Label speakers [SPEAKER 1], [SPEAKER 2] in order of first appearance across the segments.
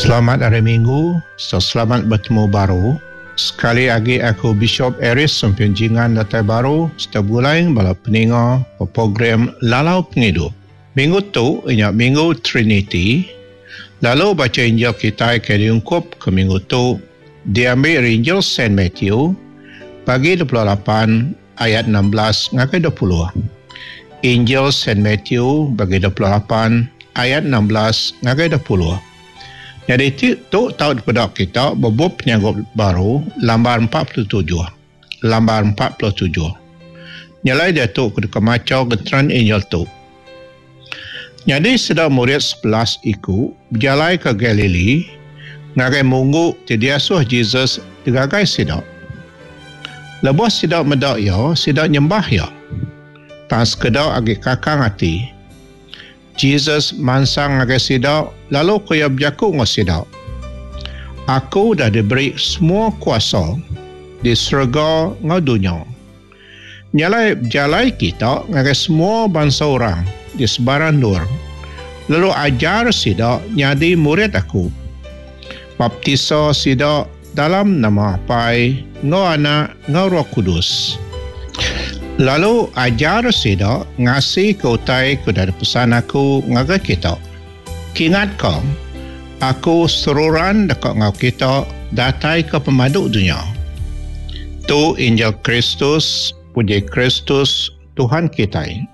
[SPEAKER 1] Selamat Hari Minggu serta selamat betemu baru. Sekali agi aku Bishop Aries Sempian Jingan datai baru serta begulai bala peninga ba program Lalau Pengidup. Minggu tu inya Minggu Trinity lalu bacha Injil kitai ke diungkup ke minggu tu diambi ari Injil Saint Matthew bagi 28 ayat 16 ngagai 20. Injil Saint Matthew bagi 28 ayat 16 ngagai 20. Nyadi ti tu tau dipeda kita ba bup Penyanggup Baru lambar 47. Lambar 47. Nyelai diatu ku deka macha genteran Injil tu. Nyadi sida murid 11 iku bejalai ke Galili ngagai munggu ti diasuh Jesus digagai sida. Lebuh sida meda iya, sida nyembah iya. Tang sekeda agi kakang ati. Jesus mansang ngagai sida lalu ku iya bejaku enggau sida, Aku udah diberi semua kuasa di serega enggau dunya. Nya alai bejalai kita ngagai semua bansa orang di sebarang endur, lalu ajar sida nyadi murid aku. Baptisa sida dalam nama Apai enggau Anak enggau Roh Kudus. Lalu ajar sida ngasika utai ke udah dipesan aku ngagai kita. Kingatka, aku seruran deka enggau kita datai ke pemadu dunya. Tu Injil Kristus, puji Kristus, Tuhan kitai.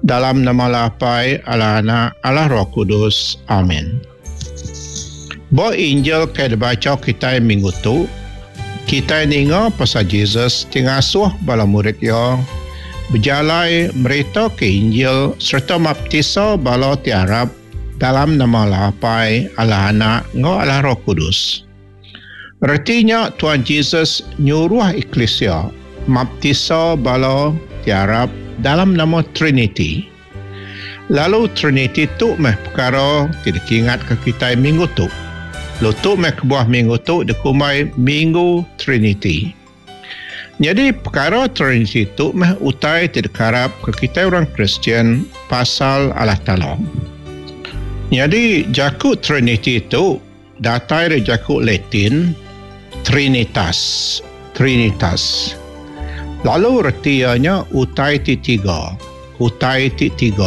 [SPEAKER 1] Dalam nama Allah Apai, Allah Anak, Allah Roh Kudus. Amin. Ba Injil ke dibacha kitai minggu tu, kitai ninga pasal Jesus ti ngasuh bala murid iya bejalai meritaka Injil sereta maptisa bala ti arap dalam nama Allah Apai, Allah Anak enggau Allah Roh Kudus. Reti nya Tuan Jesus nyuruh eklisia maptisa bala ti arap dalam nama Triniti. Lalu Triniti tu meh pekara ti dikingatka kitai minggu tu. Lalu tu meh kebuah minggu tu dikumbai Minggu Triniti. Nyadi pekara Triniti tu meh utai ti dikarapka kitai orang Kristian pasal Allah Taala. Nyadi jaku Triniti tu datai ari jaku Latin Trinitas, Trinitas. Lalu reti iya nya utai ti tiga, utai ti tiga.